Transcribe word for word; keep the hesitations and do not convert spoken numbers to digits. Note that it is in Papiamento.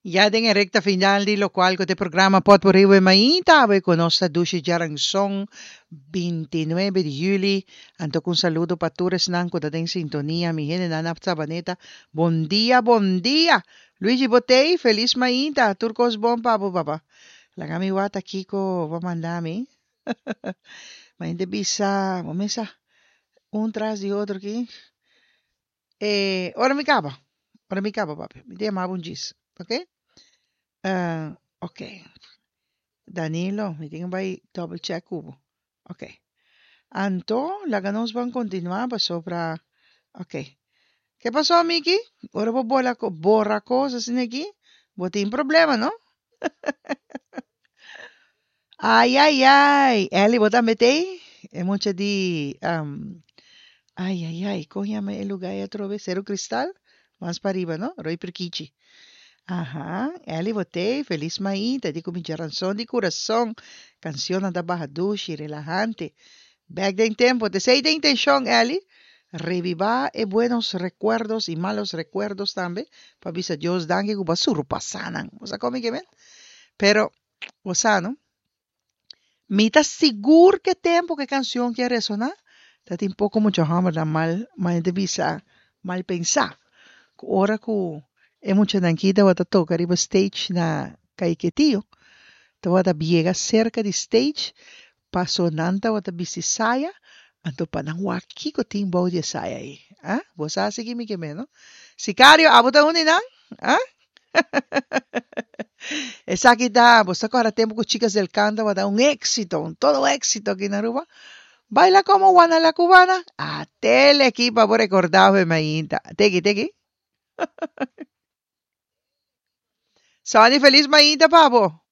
Ya den e recta final di locual cu t'e programa Potpourri We Mainta, awe cu nos ta dushi djaranson binti nuebe di juli. Anto cu un saludo pa tur esnan cu ta den sintonia, mi hendenan na Sabaneta, bon dia, bon dia! Luigi Botey, feliz mainta, tur cos bon pa bo papa. Laga mi wak ta kico bo a manda mi. Mainta bisa, bo mesa un tras di otro aki. E ora mi caba, ora mi caba papi, mi ta yama bo un djis, ok? Uh, ok. Danilo, mi tin bai double check cu bo. Ok. Anto, laga nos ban continua pasobra, ok. Ke pasó, Miki? Ora bo bola, borra cos asina aki, bo tin problema, no? Ai, ai, ai. Ellie, bo tambe t'ei? E mucha di, um, ai, ai, ai, kon yama e lugá ei atrobe? Seru Cristal? Mas pariba, no? Rooi Prikichi. Aha, Ellie bo t'ei, felis mainta, di ku mi djaranson di kurason. Kansionnan ta baha dushi, relahante. Bèk den tempu, t'esei ta intenshon, Ellie. Rebibá e buenos rekuerdos i malos rekuerdos tambe, pa bisa Dios danki ku bo a surpasá nan. Bo sa kon mi ke men? Pero, bo sa no? Mi ta sigur ku e tempu ku e kansion ke a resoná, ta tin poko mucha hòmbernan mal, mal ta bisa, mal pensá. Ku ora ku e muchanan aki tabata toka riba stage na Caiquetio, tabata biega serka di stage, paso nan tabata bisti saya, anto pa nan wak kiko tin bou di e saya ei. Ah, bo sa si ki mi ke men, no? Sicario, abo ta un di nan? Ah? Esaki ta, bo sa kòrda tempu ku Chicas del Canto tabata un éxito, un todo éxito aki na Aruba? Baila como Juana la Cubana. Atele aki pa bo rekordá fe mainta. Teki, teki. Sonny, feliz mainta pa bo.